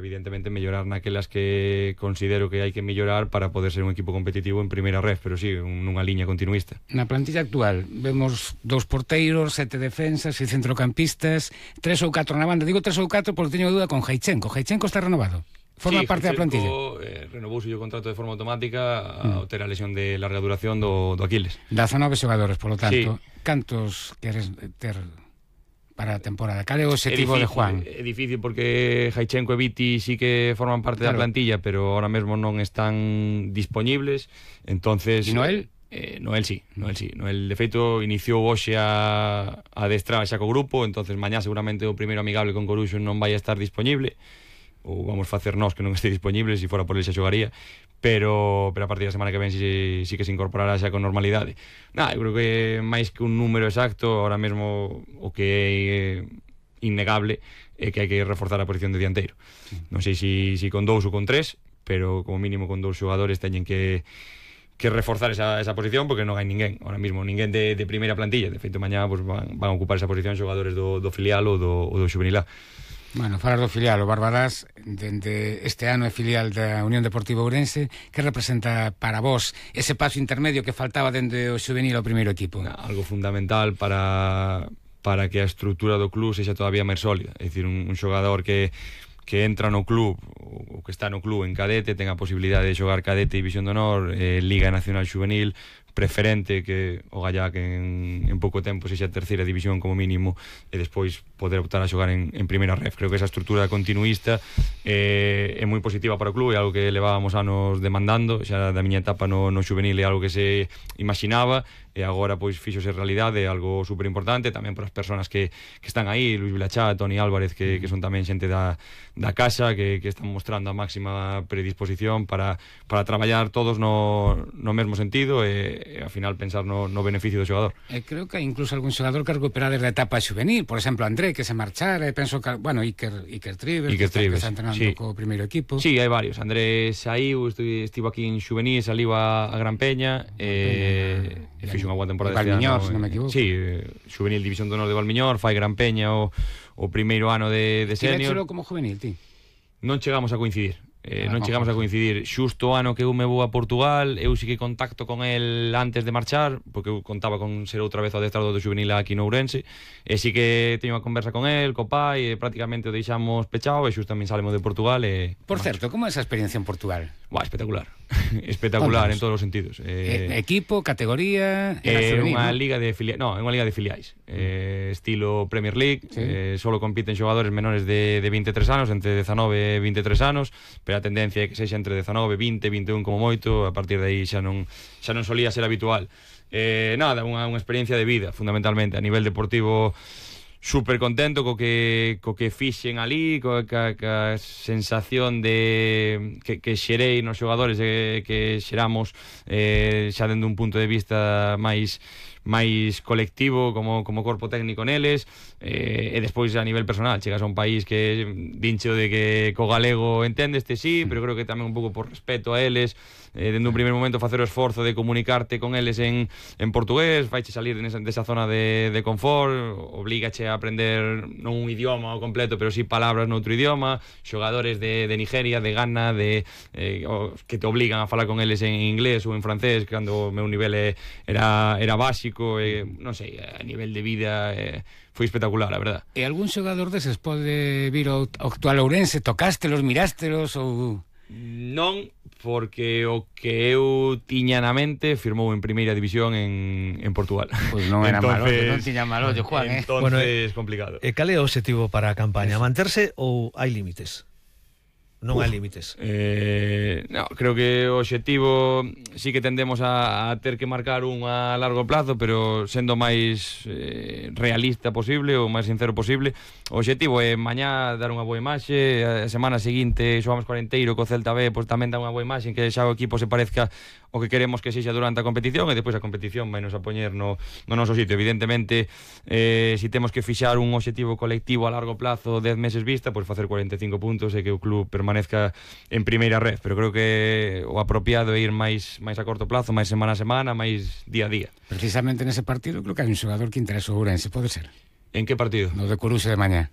evidentemente mellorar naquelas que considero que hai que mellorar para poder ser un equipo competitivo en primeira ref, pero sí, nunha liña continuista. Na plantilla actual vemos 2 porteiros, 7 defensas, 6 centrocampistas, 3 ou 4 na banda. Digo 3 ou 4 porque teño dúda con Jaichenko. Jaichenko está renovado? Forma parte da plantilla? Renovouse o contrato de forma automática ao ter a lesión de larga duración do Aquiles. 19 xogadores, polo tanto. Cantos queres ter para a temporada? Cal é o objetivo de Juan? É difícil porque Jaichenko e Viti sí que forman parte da plantilla, pero ahora mesmo non están disponibles. Entonces, e Noel? Noel sí. Noel, de feito, iniciou hoxe a adestrar xa co grupo, entonces mañá seguramente o primeiro amigable con Coruxo non vai a estar disponible, ou vamos facer nós que non este disponible, se fora por ele xa xogaría, pero a partir da semana que ven sí que se incorporará xa con normalidade. Eu creo que máis que un número exacto, ahora mesmo o que é innegable é que hai que reforzar a posición de dianteiro. Non sei se con 2 ou con 3, pero como mínimo con 2 xogadores teñen que reforzar esa posición, porque non hai ninguén ahora mismo, ninguén de primeira plantilla. De feito, mañá pues, van a ocupar esa posición xogadores do filial ou do xuvenil A. Bueno, falar do filial, o Barbadás dende este ano é filial da Unión Deportiva Ourense. Que representa para vos ese paso intermedio que faltaba dende o xuvenil ao primeiro equipo? Algo fundamental para que a estrutura do club sexa todavía máis sólida. É dicir, un xogador que entra no club ou que está no club en cadete ten a posibilidade de xogar cadete, división de honor, Liga Nacional Xuvenil, preferente que o Gallá que en pouco tempo sexa terceira división como mínimo, e despois poder optar a xogar en primeira ref. Creo que esa estrutura continuista é moi positiva para o club, é algo que levábamos anos demandando xa da miña etapa no xuvenil, é algo que se imaginaba e agora pois fíxose realidade, é algo super importante tamén para as persoas que están aí, Luis Vilachá, Toni Álvarez, que son tamén xente da casa, que están mostrando a máxima predisposición para traballar todos no mesmo sentido e ao final pensar no beneficio do xogador. Creo que hai incluso algún xogador que recupera desde a etapa xuvenil, por exemplo André, que se marchara, penso que, bueno, Iker Triver, que está entrenando co primeiro equipo. Sí, hai varios. André saiu, estivo aquí en xuvenil, saliu a Gran Peña, e fixo unha boa temporada este ano. Valmiñor, se non me equivoco. Sí, xuvenil división de honor de Valmiñor, fai Gran Peña o primeiro ano de senior. Tivéchelo como juvenil, ti? Non chegamos a coincidir. Non chegamos a coincidir. Xusto o ano que eu me vou a Portugal, eu sí que contacto con el antes de marchar, porque eu contaba con ser outra vez o adestrado do xuvenil aquí no Ourense, e sí que teño unha conversa con el, co pai, e prácticamente o deixamos pechado, e xusto tamén salemos de Portugal. Por certo, como é esa experiencia en Portugal? Espectacular. Espectacular en todos os sentidos. Equipo, categoría, é unha liga de filiais. Non, é unha liga de filiais. Estilo Premier League, solo compiten xogadores menores de 23 anos, entre 19 e 23 anos, pero a tendencia é que sexa entre 19, 20, 21 como moito, a partir de aí xa non solía ser habitual. Nada, unha experiencia de vida, fundamentalmente, a nivel deportivo. Super contento co que fixen ali, coa sensación de que xerei nos xogadores, que xeramos xa dende un punto de vista máis colectivo como corpo técnico neles, e despois a nivel personal chegas a un país que dincho de que co galego entendeste, sí, pero creo que tamén un pouco por respeto a eles, dende un primer momento facer o esforzo de comunicarte con eles en portugués, faiche salir desa zona de confort, obligache a aprender non un idioma ao completo, pero sí palabras noutro idioma, xogadores de Nigeria, de Ghana, que te obligan a falar con eles en inglés ou en francés, cando o meu nivel era básico, non sei, a nivel de vida foi espectacular, a verdad. E algún xogador deses pode vir ao actual Ourense? Tocastelos, mirástelos ou...? Non, porque o que eu tiña na mente firmou en primeira división en Portugal. Pois non era malo, non tiña malo, Juan, Entonces, complicado. E cal é o objetivo para a campaña? Manterse ou hai límites? Non hai límites. No, creo que o obxectivo sí que tendemos a ter que marcar un a largo plazo, pero sendo máis realista posible ou máis sincero posible. O obxectivo é mañá dar unha boa imaxe, a semana seguinte xogamos Cuarenteiro co Celta B, pois tamén dar unha boa imaxe, que xa o equipo se parezca o que queremos que sexa durante a competición, e depois a competición vai nos a poñer no noso sitio. Evidentemente, si temos que fixar un obxectivo colectivo a largo plazo, 10 meses vista, pois facer 45 puntos e que o club permanezca en primeira red, pero creo que o apropiado é ir máis a corto plazo, máis semana a semana, máis día a día. Precisamente nese partido creo que hai un xogador que interesa o Ourense, pode ser? En que partido? No de Coruxa de mañá.